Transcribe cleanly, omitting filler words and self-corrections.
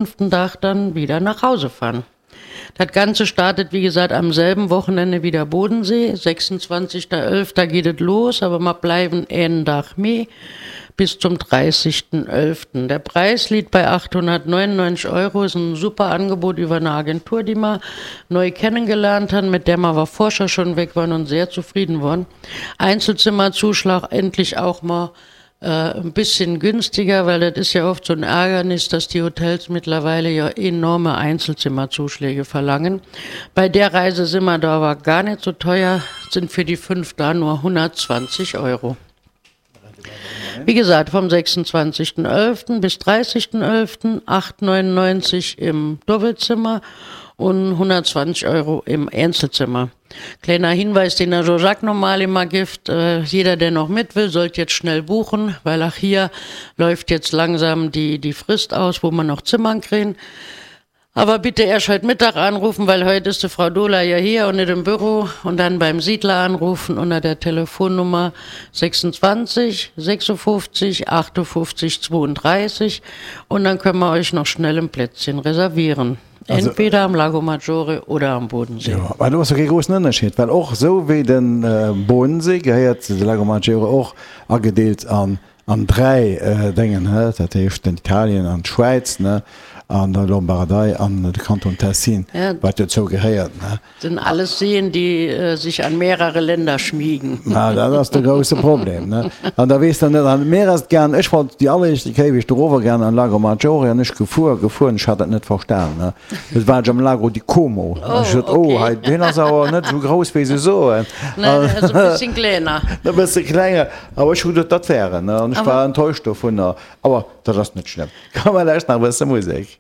fünften Tag dann wieder nach Hause fahren. Das Ganze startet, wie gesagt, am selben Wochenende wie der Bodensee. 26.11. geht es los, aber wir bleiben einen Tag mehr bis zum 30.11. Der Preis liegt bei 899 Euro, ist ein super Angebot über eine Agentur, die wir neu kennengelernt haben, mit der wir aber vorher schon weg waren und sehr zufrieden waren. Einzelzimmerzuschlag endlich auch mal äh, ein bisschen günstiger, weil das ist ja oft so ein Ärgernis, dass die Hotels mittlerweile ja enorme Einzelzimmerzuschläge verlangen. Bei der Reise sind wir da aber gar nicht so teuer, sind für die fünf da nur 120 Euro. Wie gesagt, vom 26.11. bis 30.11. 8,99 im Doppelzimmer und 120 Euro im Einzelzimmer. Kleiner Hinweis, den der Jean-Jacques normal immer gibt, äh, jeder, der noch mit will, sollte jetzt schnell buchen, weil auch hier läuft jetzt langsam die, die Frist aus, wo man noch Zimmern kriegen. Aber bitte erst heute Mittag anrufen, weil heute ist die Frau Dola ja hier und nicht im Büro. Und dann beim Siedler anrufen unter der Telefonnummer 26 56 58 32. Und dann können wir euch noch schnell ein Plätzchen reservieren. Also, Entweder am Lago Maggiore oder am Bodensee. Jo, mä do ass jo kee groussen Ënnerscheed, well och esou wéi de Bodensee gehéiert de Lago Maggiore och agedeelt an an 3 Déngen, he, dat heescht den Italien an d'Schwäiz, ne, an der Lombardei an de Kanton Tessin, wat dozou gehéiert, ne. Sind alles Seen, die sich an mehrere Länder schmiegen. Ma dat ass de grousse Problem, ne. An da weess der net, an mir ass et gaang, ech wollt déi alleréischte Kéier wéi ech dorower gaang an Lago Maggiore an ech gefuer, gefuer an ech hat dat net verstan, ne. Du war ech am Lago di Como an ech sot, oh hei, deen ass awer net esou grouss wéi se soen. Nee, deen ass e bësschen klenger. E bësse klenger. Awer ech hu geduet, dat wär en, ne, an ech war enttäuscht dovunner. Awer dat ass net schlëmm. Komm, mer lauschten nach e bësse Musek.